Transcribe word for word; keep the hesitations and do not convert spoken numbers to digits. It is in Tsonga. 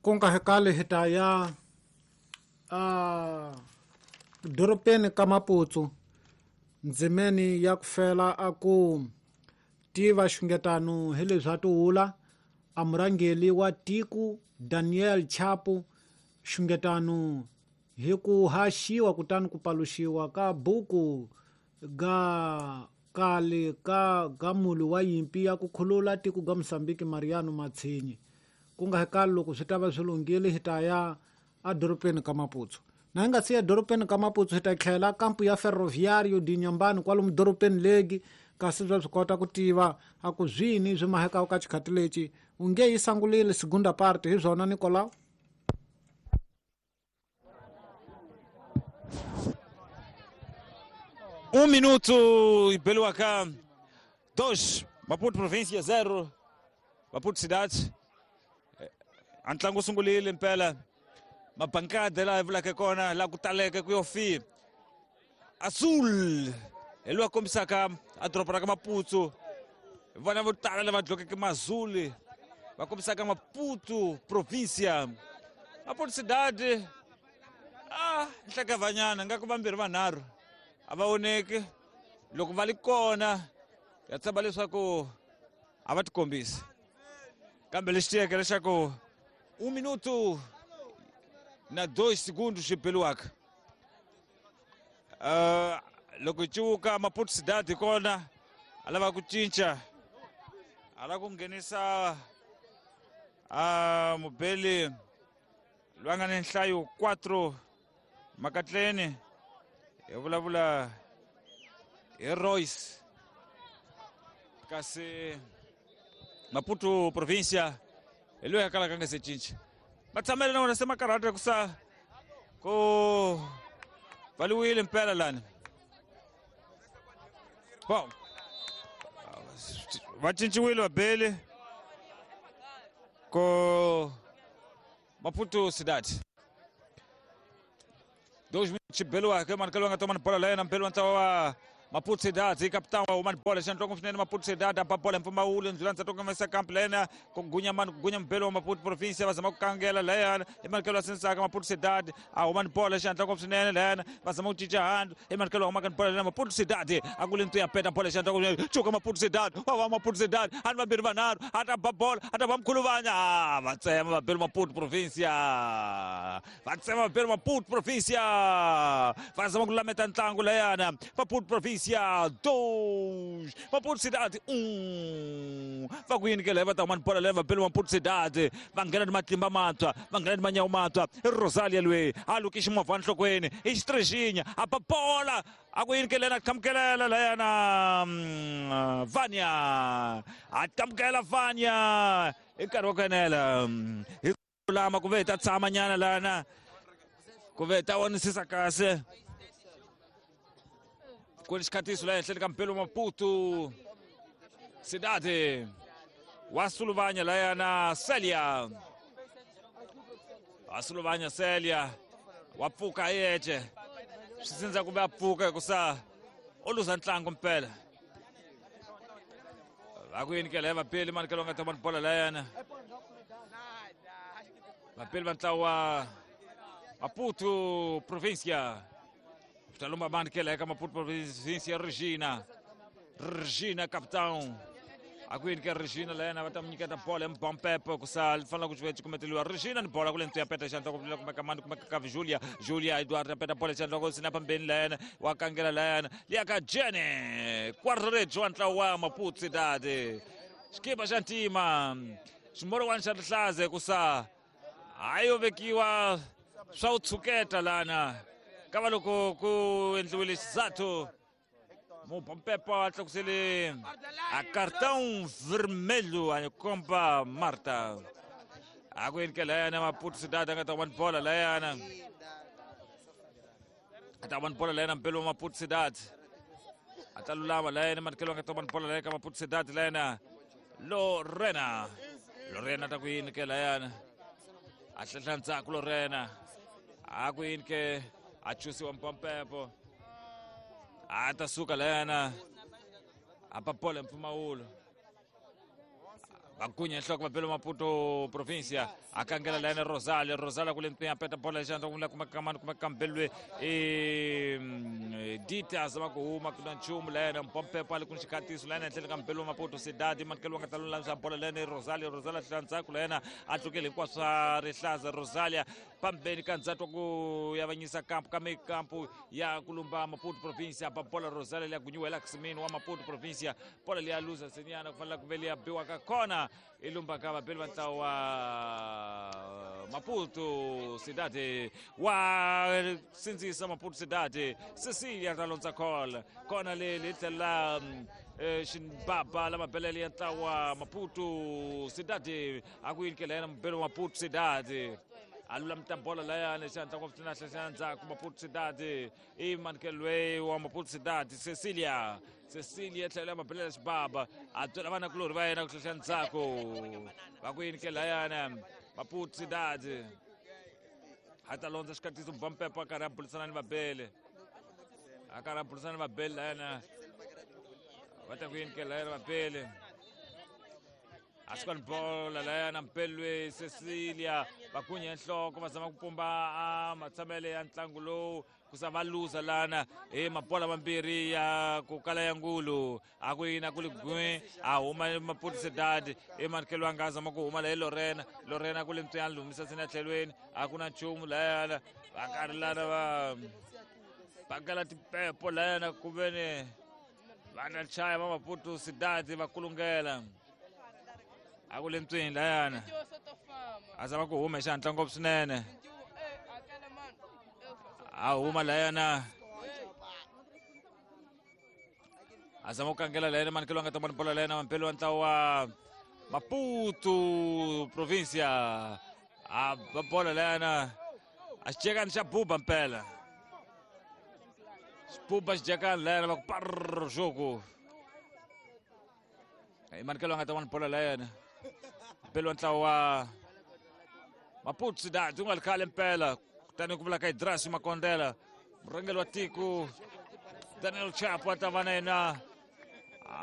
Ku nga hekali hi ta ya a dorobeni ka Maputo ndzimeni ya ku fela a ku tiva xungetano hi leswi a tihula a murhangeri wa tiko Daniel Chapo xungetano hi ku haxiwa kutani ku paluxiwa ka buku ga kale ka ga mulu wa yimpi ya ku khulula tiko ga Mozambique Mariano Matsinhe ku nga hekali loko swi ta va swi lunghile hi ta ya edorobeni ka Maputo na hi nga si ya edorobeni ka Maputo hi ta tlhela kampu ya Ferroviário de Inhambane kwalomu dorobeni legi kasi bya swi kota ku tiva a ku zwini swi mahekaka ka xikhati lexi u nge yi sangulile segunda parte hi swona Nicolau. Um minuto e Beluacá, dois, Maputo província zero, Maputo cidade. A ntlangu sungulile mpela mabankada laha hi vulaka kona laha ku taleke ku yo fi Azul hi loyi a kombisaka a doroba ra ka Maputo vona vo tala lava dlokeke mazuli va kombisaka Maputo província Maputo cidade ah nhlekavanyana nga ku vambirhi vanharhu a va voneki loko va li kona ya tshemba leswaku a va tikombisi kambe lexi tiyeke leswaku um minuto na dois segundos xibeliwaka uh, loko ciwuka Maputo cidade kona a lava ku cinca a lava ku nghenisa uh, mubeli loyi a nga ni nhlayo quatro makatleni hi vulavula hi Royce kasi Maputo província hi loyi a kalaka a nga se cinca va tshamela na wona se makarhata ku sa ku pfaliwile mpela lani bom va cinciwile vabeli ko Maputo cidade dois minutos xibeliwaka manikelo nga tomani bola la yena mpeli wa ntlawa wa Maputo cidade capitão wa humani bola xandloko swinene Maputo cidade a ba bola mpfumawulo ndlula ndza tokomesa kamp lena ku gunya mani ku gunya mbelo wa Maputo província va zama ku kangela layana i manikelo wa sensaka Maputo cidade a humani bola xandloko swinene layana va zama ku cinca handu i manikelo wa humaka ni bola lena Maputo cidade a ku le ntu ya peta bola xandloko swinene cuka Maputo cidade wa va Maputo cidade a ni vambirhi vanharhu a ta ba bola a ta ba mkhuluvanya a va tsema vabeli Maputo província va tsema vabeli Maputo província va zama ku lameta ntlangu layana Maputo província dois Maputo cidade um va ku yini ke leyi va ta huma ni bola leyi vabeli Maputo cidade va nghena ni matimba mantshwa va nghena ni manyawu mantshwa i Rosalia loyi a luki ximovha enhlokweni i xitrexinya a ba bola a ku yini ke lena a qhamukelela layana Vanya a qhamukela Vanya i nkarhi wa ku enela hi lama ku ve hi ta tshama nyana lana ku ve hi ta vonisisa kahle ku ni xikhatiso laha ehenhleni ka mpelo Maputo cidade wa Suluvanya layana Celia wa Suluvanya Celia wa pfuka hi yexe swi sindza kumbe a pfuka hikusa u luza ntlangu mpela va ku yini ke laya vapeli manikelo nga ta vona bola layana vapeli va ntlawa wa Maputo província Talumba manikela eka Maputo província Regina Regina capitão a ku yini ke Regina layana va ta mu nyiketa bola hi mubampepe ku sa fanele ku ci kumeteliwa Regina ni bola ku le ntu ya peta xandla ku kumeka mani kumeka ka Julia Julia Eduardo ya peta bola xandla ku sina pambeni layana wa kangela layana liya ka Jene Quarto wa ntlawa wa Maputo cidade xikipa xa ntima ximorowani xa rihlaza ku sa hayi yo vekiwa swa u tshuketa lana kava loko ku endliwile xizathu mubampepa a tlakusele a cartão vermelho a komba Marta a ku yini ke layana Maputo cidade a nga ta huma ni bola layana a ta huma ni bola layana mpelo wa Maputo cidade a ta lulama layana manikelo a nga ta huma ni bola layana ka Maputo cidade layana Lorena Lorena ta ku yini ke layana a hlehla ndzhaku Lorena a ku yini ke a chusiwa mpampepo a ta suka layana a ba bola mpfumawulo Vagunya nhloko vabelo Maputo provincia akangela layena Rosalia Rosalia kule ntwinya peta bola xandla kumla kuma kamani kuma kambelwe e Dita zama ku huma kuna nchumu layena mpompepo ali kun xikatiso layena enhleni ka mbelo Maputo Cidade mankelo nga ta lulamisa bola layena Rosalia Rosalia hlandzhaku layena a tlukele hinkwaswo swa rihlaza Rosalia pambeni ka ndzhaku ku yavanyisa kampu ka kampu ya kulumba Maputo provincia ba bola Rosalia liya gunyiwa Laxmin wa Maputo provincia bola liya luza senyana ku fanele ku ve liya biwa ka kona ilumba ka vabeli va ntlawa wa Maputo Cidade wa sindzisa Maputo Cidade Cecilia ta londza call kona le le tlhela xibaba la mabelele ya ntlawa Maputo Cidade a ku yini yena mubeli wa Maputo Cidade a lulamita bola layani xandla ngopfu na hlahla ndzhaku Maputo Cidade i mankelwe wa Maputo Cidade Cecilia Cecilia tlhela mabelela xibaba a byela vanakulorhi va yena ku hlahla ndzhaku va ku yini ke layana Maputo Cidade a ta londza xikatiso bampepo a karhi a bulisana ni vabele a karhi a bulisana ni vabele layana va ta ku yini ke layana vabele a swi bola layana mpelwe Cecilia vagunya nhloko va zama ku pumba a matshamele ya ntlangu lowu ku sa va luza lana hi mabola mambirhi ya ku kala ya ngulu a ku yina ku li gwe a huma Maputo Cidade i mankelo a nga zama ku huma laye Lorena Lorena ku le mtsiyani lumisa sina tlhelweni a ku na nchumu layana va karhi lana va pakela tipepo layana ku veni va ta chaya va Maputo Cidade va kulungela a ku le ntswini layana a zama ku huma hi xihatla ngopfu swinene a huma layana a zama ku kangela layana manikelo a nga ta vona bola layana mampelo wa ntlawa wa Maputo provincia a ba bola layana a xicekani xa buba mpela xibuba xicekani layana va ku parr xoku manikelo a nga ta vona bola layana mpelo wa ntlawa wa Maputo Cidade u nga ri khale mpela kutani ku vula ka Idrasi Makondela murhangeri wa tiko Daniel Chapo a ta va na yena